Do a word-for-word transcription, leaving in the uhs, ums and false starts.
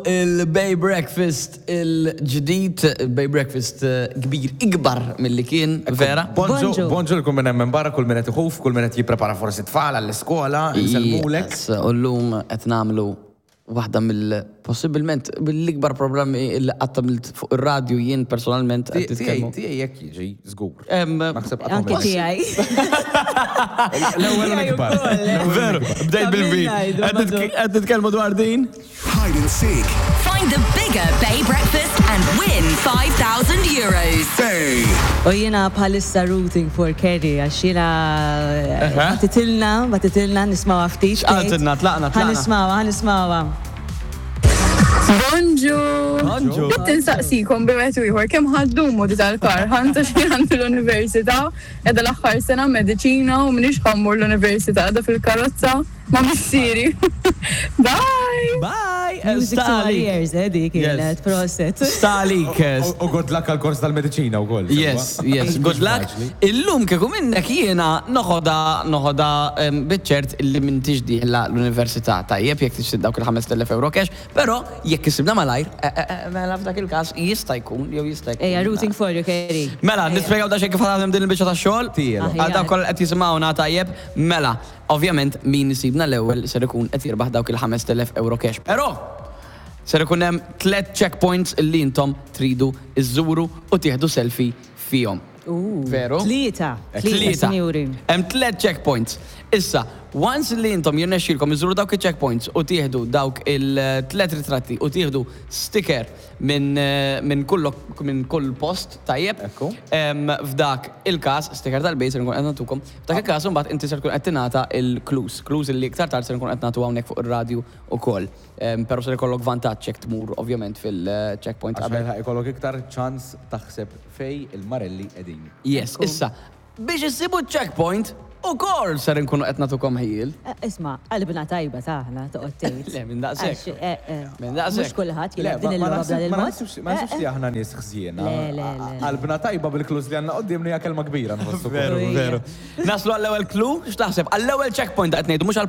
Il-Bay Breakfast il-ġdid, Bay Breakfast eh, kbir, ikbar mill-li kien, vera? Bonġu, Bonġu. Bonġu kull minn hemm barra, kull minn qed iħuf, kull minn qed jipprepara forsi tfal għall-iskola, insellmulek. Yes, u llum qed nagħmlu waħda mill possibilment mill-ikbar problemi li qatt għamilt fuq ir-radju jien personalment qed Tiegħi titkellmu. Tiegħi jekk jiġi żgur. Em, Naħseb qatt Anke għamilt. tiegħi. L-ewwel l-ikbar. Veru, bdejt bil-vin. Qed titkellmu dwar din? Hide and seek. Find the bigger Bay Breakfast and win five thousand euros. Bay. U jiena bħalissa rooting for Kerry, għax jiena bagħtitilna, bagħtitilna nisimgħuha ftit. X'qaltilna? Tlaqna, tlaqna. Ħa nisimgħuha, ħa nisimgħuha. Bonġu! Bonġu. Ridt insaqsikom b'wieħed u ieħor kemm ħa ddumu di tal-kar, ħanta xi għandi l-università, qiegħda l-aħħar sena mediċina u m'iniex ħa mmur l-università, qiegħda fil-karozza ma' missieri. Bye! Bye! Music to our ears, eh, dik kienet, prosit. Stalik. U good luck għal-kors tal-mediċina u koll. Yes, yes, good luck. Illum kieku minnek jiena noħodha noħodha em, biċ-ċert illi m'intix dieħla l-università, tajjeb, jekk tixtieq dawk il-ħamest elef euro cash, però jekk issibna malajr, eh, eh, eh, mela f'dak il-każ jista' jkun jew jista' jkun. Ejja, rooting for you, Kerry. Mela, nispjegaw da xejn kif ħadem din il-biċċa tax-xogħol. Tielo. Għal dawk kollha qed jisimgħuna, tajjeb, mela, ovvjament min isibna l-ewwel ser ikun qed jirbaħ dawk il-ħamest elef euro cash. Però ser ikun hemm tliet checkpoints illi intom tridu iżżuru u tieħdu selfie fihom. Veru? Tlieta, tlieta, Tlieta. sinjuri. Hemm tliet checkpoints. Issa, once li intom jirnexxilkom iżuru dawk il-checkpoints u tieħdu dawk il-tliet ritratti u tieħdu sticker minn eh, minn kull minn kull post, tajjeb. Ekku. Em, F'dak il-każ, sticker tal-Bay ser nkun qed nagħtukom. F'dak il-każ imbagħad inti ser tkun qed tingħata il-clues. Clues li iktar tard ser nkun qed nagħtu hawnhekk fuq ir-radju ukoll. Em, Però ser ikollok vantaġġ jekk tmur ovvjament fil-checkpoint Għax qabel. ħa ikollok iktar ċans taħseb fej il-marelli qegħdin. Yes, issa, biex issibu checkpoint, ukoll ser nkunu qed nagħtukom ħjiel. Eh, isma', qalbna tajba taħna, toqgħod tgħid. Le, minn daqshekk. Għax, eh, eh, Minn daqshekk. Mhux kulħadd Le, jilgħab din ma il-logħba naħseb- b'dan ma il-mod. naħsibx ma naħsibx li aħna nies ħżiena. Le, le, le. Qalbna tajba bil-clues li għandna qudiemna hija kelma kbira nħossu. Veru, veru. Naslu għall-ewwel clue, x'taħseb? Għall-ewwel checkpoint qed ngħidu, mhux